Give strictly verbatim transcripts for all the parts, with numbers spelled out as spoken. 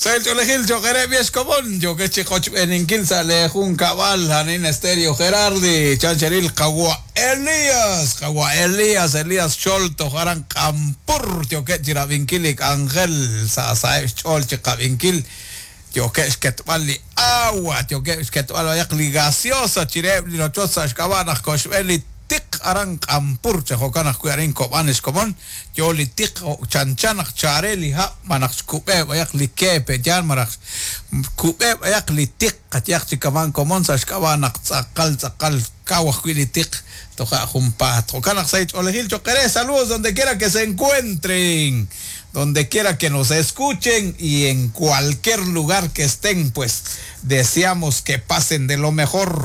Sahil ch'oolejil cho'q reheb' xkomon yo'kex chi qochb'eeninkil sa' le junkab'al arin Estéreo Gerardi chancheril qawa Elías qawa Elías Elías Xol toj aran Q'ampur yo'keb' chi rab'inkil li k'anjel sa' saheb' xch'ool chi qab'inkil yo'keb' xketb'al li agua yo'keb' xketb'al b'ayaq li gaseosa chireheb' li rochoch sa' xk'ab'a' naq koxb'een li tiq aran Q'ampur chi jo'kan ajwi' arin kob'an xkomon yo li tiq chanchan naq chare li hab' malaj xkub'e b'ayaq li kepe yaal malaj kub'e b'ayaq li tiq qayaq chi kaman komon sa' xk'ab'a' naq tz'aqal tz'aqal kaw ajwi' li tiq toja' junpaat jo'kan naq sa' ch'oolejil cho'q re saludos donde quiera que se encuentren, donde quiera que nos escuchen y en cualquier lugar que estén, pues deseamos que pasen de lo mejor.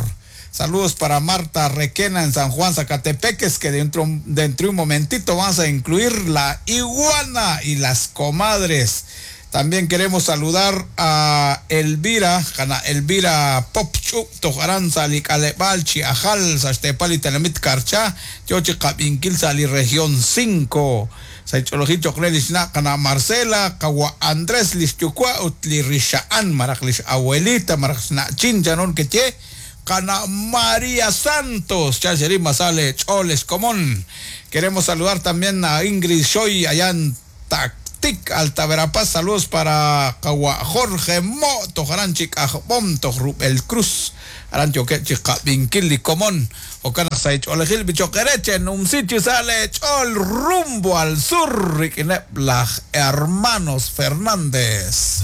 Saludos para Marta Requena en San Juan Sacatepéquez, que dentro, dentro de un momentito vamos a incluir la iguana y las comadres. También queremos saludar a Elvira, Jana Elvira Popchup, Tojaran, Salicalebal, Chiajal, Saxtepal y Telemit Karcha, Yochi Kabinkil, Sali Región cinco. Saicholoji Chocre Lishna, Kana Marcela, Kawa Andrés Lishchukua, Utli Rishaan, Marak Lish Abuelita, Marak Chin, Janon Keche, Kana María Santos, Chacherí Masale, Choles Comón. Queremos saludar también a Ingrid Shoy allá en Tactic, Alta Verapaz. Saludos para Kawa Jorge Mo, Tojarán Chicajbom, Tojrubel Cruz, Arancho Chica Binkili Comón, Okana Saich Olejil Bichoquereche, Numsichi sale Chol, rumbo al sur, Riquinep, hermanos Fernández.